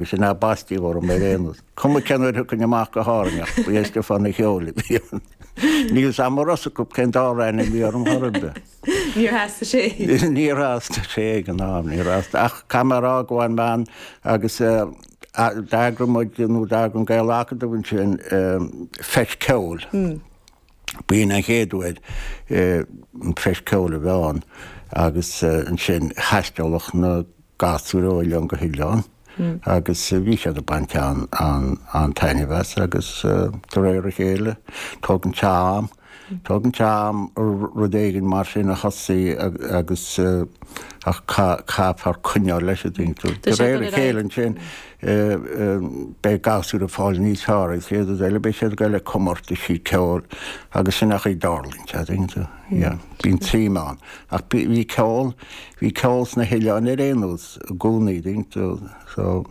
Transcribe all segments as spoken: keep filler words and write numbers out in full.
Agus sin é baisteadh orm ar aon nós. Cuma cén uair a thiocfainn amach go hÁrainn ach ba é Stiofán an Cheoil a bhí ann. Níl 'fhios a'm ar fhios acu cén dara ainm a bhí orm chor ar bith. Níor theastaigh sé. Níor theastaigh sé ag an am, níor theastaigh. Ach caithfidh mé a rá go bhfaigheann bean agus d'eagraigh muid nó d'eagraigh an Gael-Acadamh ansin feis ceoil. B'in an chéad uair an feis ceoil a bheith ann agus ansin thaistealodh na gasúir ó oileán go hoileán agus bhí siad ag baint an-taitneamh as agus de réir a chéile tógann sé am, tógann sé am rud éigin mar sin a thosaí agus ach caithfear coinneáil leis an dtuigeann tú. De réir a chéile ansin beidh gasúir ag fáil níos fearr agus chéad rud eile beidh siad ag dul ag comórtaisí ceoil agus sin an chaoi a dtarlaíonn sé, dtuigeann tú. Yeah, bíonn suim ann. Ach bhí ceol, bhí ceol sna hoileáin ar aon nós i gcónaí, dtuigeann tú, so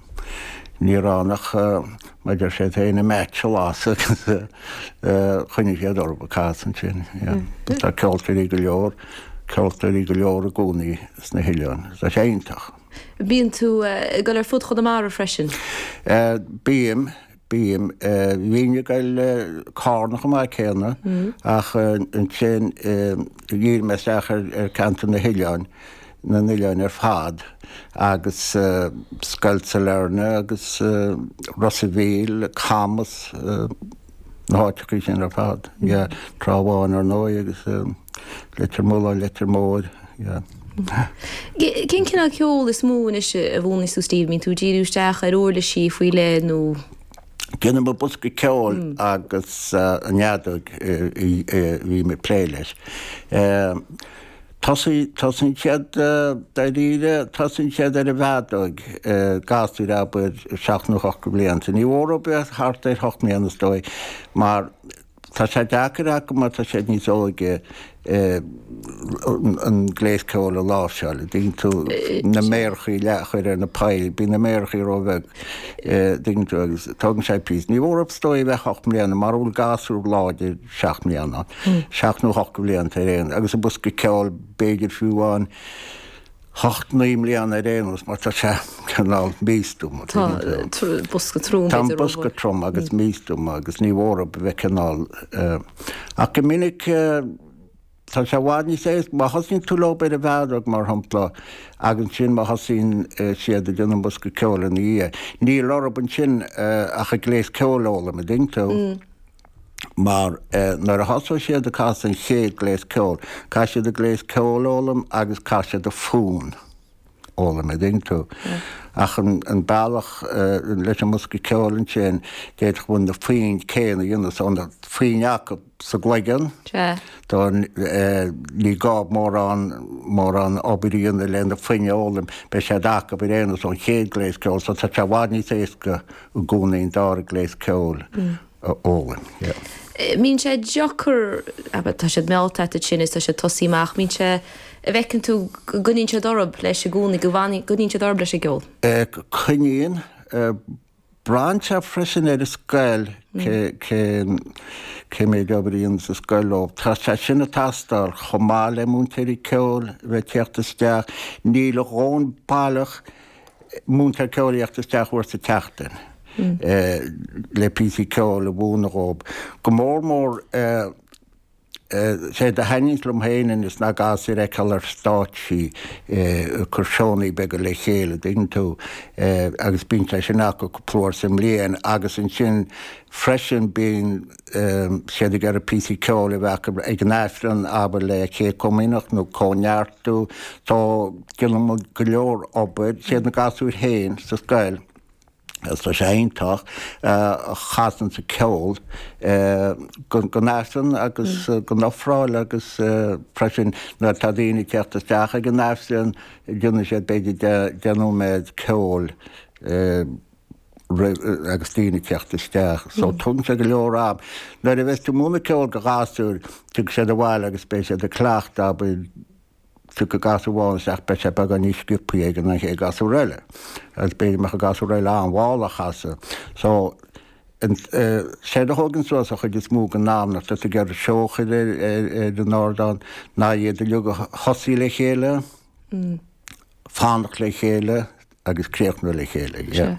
ní raibh ann ach mar a deir siad féin an match a lasadh agus choinnigh siad orthu ag casadh ansin, yeah. Tá ceoltóirí go leor, ceoltóirí go leor i gcónaí sna hoileáin. Tá sé iontach. Bíonn tú ag dul ar fud Chonamara freisin? Bím. Bím. Bhínn ag goil Carna chomh maith céanna ach ansin dhírigh mé isteach ar ceantar na hoileáin, na n-oileáin ar fad agus Scoil Sailearna agus Ros a' Mhíl, Camas, na háiteachaí sin ar fad. Yeah, Trá Bháin ar ndóigh agus Leitir Mealláin, Leitir Móir, yeah. Cén cineál ceoil is mó anois a mhúineann tú Steve? Mbíonn tú ag díriú isteach ar uirlisí faoi leith nó? Déanaim an bosca ceoil agus an fheadóg a bhím ag plé leis. Tosaíonn siad, dáiríre, tosaíonn siad ar an bhfeadóg, gasúir abair seacht nó ocht de bhlianta. Ní mór dóibh bheith thart ar hocht mbliana is dóigh mar Tá sé deacair acu mar tá siad níos óige an gléas ceoil a láimhseáil, an dtuigeann tú, na méarachaí a chur ar na poill, bíonn na méarachaí róbheag, an dtuigeann tú, agus tógann sé píosa. Ní mór is dóigh a bheith ocht mbliana, mara bhfuil gasúr láidir seacht mbliana, seacht nó ocht de bhlianta ar aon, agus an bosca ceoil b'fhéidir fiú amháin, hocht, naoi mbliana ar aon nós mar tá sé cineál místuama. Tá bosca trom. Tá an bosca trom agus místuama agus ní mór dóibh a bheith cineál ach go minic tá sé i bhfad níos éasca má thosaíonn tú leo ar an bhfeadóg mar shampla agus ansin má thosaíonn siad ag déanamh an bosca ceoil ina dhiaidh níl orthu ansin ach an gléas ceoil a fhoghlaim, an dtuigeann tú. Mar nuair a thosóidh siad ag casadh an chéad gléas ceoil, caithfidh siad an gléas ceoil a fhoghlaim agus caithfidh siad an fonn a fhoghlaim, an dtuigeann tú. Ach an bealach leis an mbosca ceoil ansin, d'fhéadfadh muid na foinn céanna a dhéanamh, so na foinn acu sa gcloigeann, ní gá mórán, mórán obair a dhéanamh le na foinn a fhoghlaim, beidh siad acu ar aon nós ón chéad gléas ceoil, so tá sé i bhfad níos éasca i gcónaí an dara gléas ceoil. a fhoghlaim, yeah. Mbíonn sé deacair, abair, tá siad meallta agat ansin is tá siad tosaí amach, mbíonn sé, a bhfeiceann tú go gcoinníonn siad orthu leis i gcónaí, go gcoinníonn siad orthu leis an gceol? Coinníonn. Braitheann sé freisin ar an scoil, cé, cén, cé méid obair a dhéananns an scoil leo. Tá sé sin ag teastáil chomh maith le múinteoirí ceoil a bheith ag teacht isteach. Níl a dhóthain baileach múinteoir ceoil a theacht isteach uair sa tseachtain le píosaí ceoil a mhúineadh dhóibh. Go mór mór séard a thaitníonns liom féin anois ná gasúir a fheiceáil ar stáitsí ag cur seónnaí beaga le chéile, an dtuigeann tú, agus bíonn sé sin acu cúpla uair sa mbliain agus ansin freisin bíonn siad ag iarraidh píosaí ceoil a bheith acu ag an Aifreann, abair le Céad Chomaoineach nó Cóineartú. So déanann muid go leor obair, siad na gasúir féin sa scoil, agus tá sé iontach, a chasann an ceol don Aifreann agus don ofráil agus freisin nuair atá daoine ag teacht isteach ag an Aifreann déanann siad b'fhéidir deich nóiméad ceoil roimh agus daoine ag teacht isteach. So tógann sé go leor am. Nuair a bheas tú ag múineadh ceoil do ghasúir, tiocfaidh siad abhaile agus beidh siad ag cleachtadh, abair, tiocfaidh gasúr amháin isteach, beidh sé beagán níos sciobthaí aige ná an chéad gasúr eile. Agus b'fhéidir go mbeadh an gasúr eile an-mhall á chasadh. So, séard a thógann suas an chuid is mó den am nuair atá tú ag iarraidh seó a chur ar an ardán ná iad uilig a thosaí le chéile, fanacht le chéile, agus críochnú le chéile. Yeah.